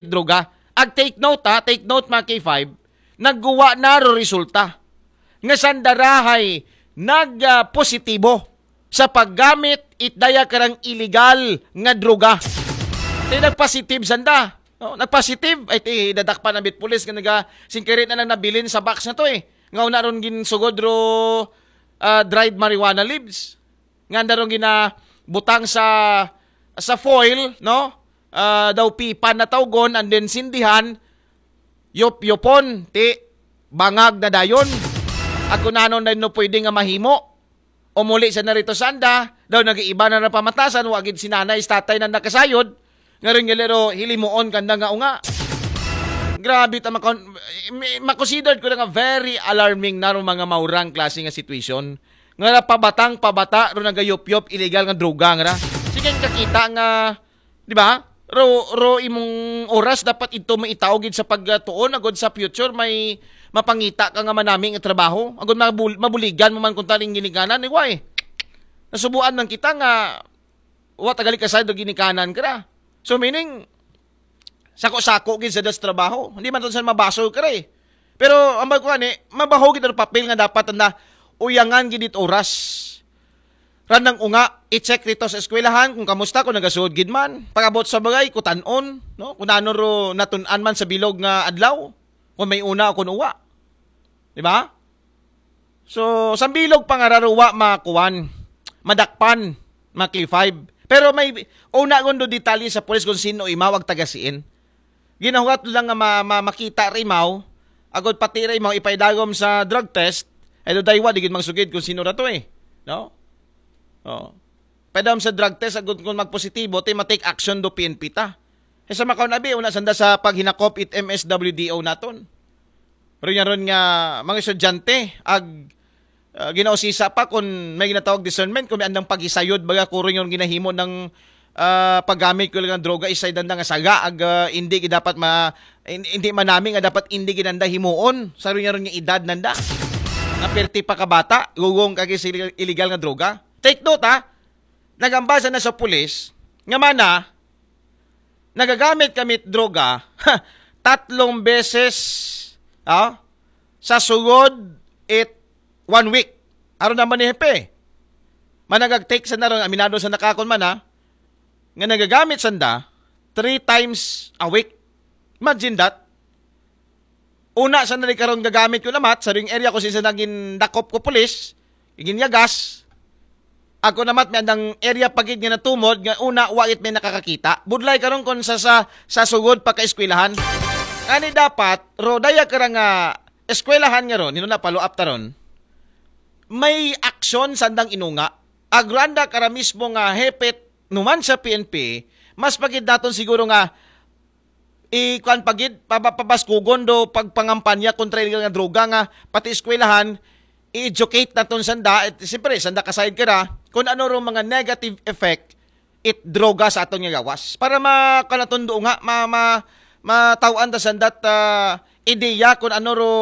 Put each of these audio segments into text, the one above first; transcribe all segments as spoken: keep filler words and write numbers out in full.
droga. Ag take note ha, take note mga K five, nagguwa na ro resulta nga sanda ra hay nag-positibo sa paggamit it daya karang illegal nga droga. Ti nagpositive sanda. No? Nagpositive, ay ti dadakpan ang bit pulis nga naga singkiri na lang nabilin sa box na to eh. Nga una ron ginsugod ro ah, dried marijuana leaves. Nga anda ron ginabutang sa sa foil, no? Ah, daw pipan na tawgon and then sindihan, yop-yopon, ti bangag na dayon. At kung ano na no pwede nga mahimo, umuli sa narito sanda, daw nag-iiba na napamatasan, wagid si nanay, si tatay na nakasayod, nga rin nga lero, hilimuon kanda nga unga. Grabe ta makon, makonsidered ko na nga very alarming na ro mga maurang klase nga situation. Nga ra pabatang pabata ro nagayop-yop illegal nga droga nga ra. Sige kakita nga, di ba? Ro, ro imong oras dapat ito maitaw gid sa pagtuon agod sa future may mapangita ka nga manami nga trabaho. Agod mabul- mabuligan mo man kung taling ginikanan ni why? Nasubuan man kita nga wa tagali ka side ginikanan ka ra. So meaning sako-sako gid sa das trabaho. Hindi man to sa mabaso ka ra eh. Pero ang bagkuan eh, mabaho gid ang papel nga dapat anda uyangan gid it oras. Randang unga, i-check rito sa eskwelahan kung kamusta, kung nagasuod gid man. Pag-abot sa bagay, kutanon, no? Kung ano ro natun-an man sa bilog nga adlaw, kung may una o kung uwa. Di ba? So, sa bilog pa nga ra ro wa makuan, madakpan, mga K five. Pero may una gundo detalye sa pulis kung sino imaw ag taga siin. Ginahuwat lang nga ma- ma- makita ra imaw, agod pati ra imaw ipaidagom sa drug test, ay do daywa di gid magsugid kung sino ra to eh. No? Oh. Padam sa drug test agod kung magpositibo ti ma-take action do P N P ta. Eh, sa makaon abi una sanda sa paghinakop it M S W D O naton. Ron nga ron nga mga estudyante ag ah, ginausisa pa kung may ginatawag discernment kung may andang pagisayod baga kuro yung ginahimo ng ah, paggamit ko lang ng droga isay danda nga saga ag ah, hindi gid dapat ma in- hindi manami nga dapat hindi ginanda himuon sa ron nga ron nga edad nanda nga perti pa kabata gugong kagi sa illegal nga droga. Take note ha, nagambasa na sa pulis nga mana nagagamit kami droga tatlong beses ah, sa sugod it one week. Aron naman ni Hepe. Managag-take sa naron, aminado sa nakakon man ha, nga nagagamit sanda three times a week. Imagine that. Una sa nari karon gagamit ko namat sa ring area ko since naging dakop ko pulis, ginyagas. Ako namat may andang area pagid nga natumod nga una wa it may nakakakita. Budlay karon kon sa sa, sa sugod pa ka eskwelahan. Ani dapat ro daya kara nga eskwelahan nga ron, hino na follow up taron. May aksyon sandang inunga. Agranda kara mismo nga hepet numan sa P N P, mas pagid naton siguro nga ikuan pagid pabaskugon do pagpangampanya kontra illegal nga droga nga pati eskwelahan i-educate naton sanda, siyempre sanda kasayod kara kung ano ro mga negative effect it droga sa aton nga gawas para ma kanaton do nga ma, ma, mataw-an ta sanda ta ideya kung ano ro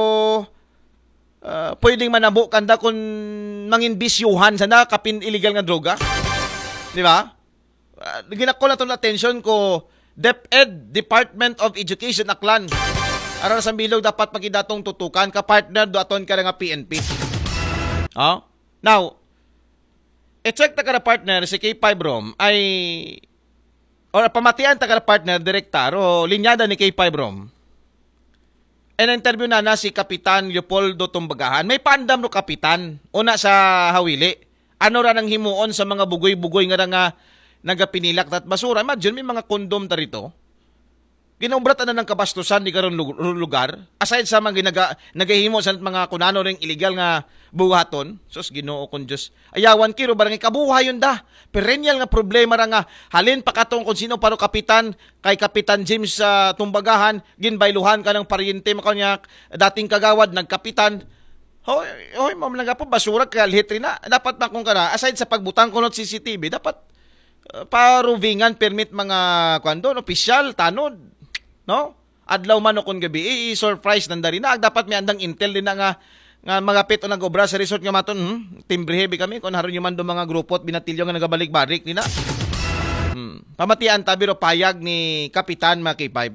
ah, pwedeng manabo kanda kung mangin bisyuhan sanda kapin illegal nga droga. Di ba? Ah, ginakol naton atensyon ko DepEd, Department of Education, Aklan. Aron sa bilog dapat pagidatong tutukan ka partner do aton ka nga P N P. Oh? Now, i-check ta ka partner si K five Rom ay or pamatian ta ka partner direkta ro linyada ni K five Rom. In-interview na na si Kapitan Leopoldo Tumbagahan. May pandam no Kapitan. Una sa hawili. Ano ra nang himuon sa mga bugoy-bugoy nga ra nga nagapinilak tat basura. Imagine, may mga kondom ta rito. Ginaubra ta na ng kabastusan di karon lug- lugar. Aside sa mga ginaga, nagahimo sa mga kunano ring illegal nga buhaton. Sus, Ginoo kong Diyos. Ayawan kiro barangay kabuhayon da. Perennial nga problema ra nga halin pa katong kung sino paro kapitan kay Kapitan James sa Tumbagahan, ginbayluhan ka ng paryente mo kanya dating kagawad nagkapitan. Hoy, hoy, ma'am lang po basura kay alhit rin na. Dapat na kung kana aside sa pagbutang kunot C C T V dapat uh, paruvingan permit mga kwando no, opisyal tanod, no? Adlaw man o kun gabi, i-surprise nanda rin na. Dapat may andang intel din na nga nga magapit o nag-obra sa resort nga maton, hmm? Timbre heavy kami kung haron yung man do mga grupo at binatilyo nga nagabalik-balik nila. Hmm. Pamatian tabi ro payag ni Kapitan, mga K five.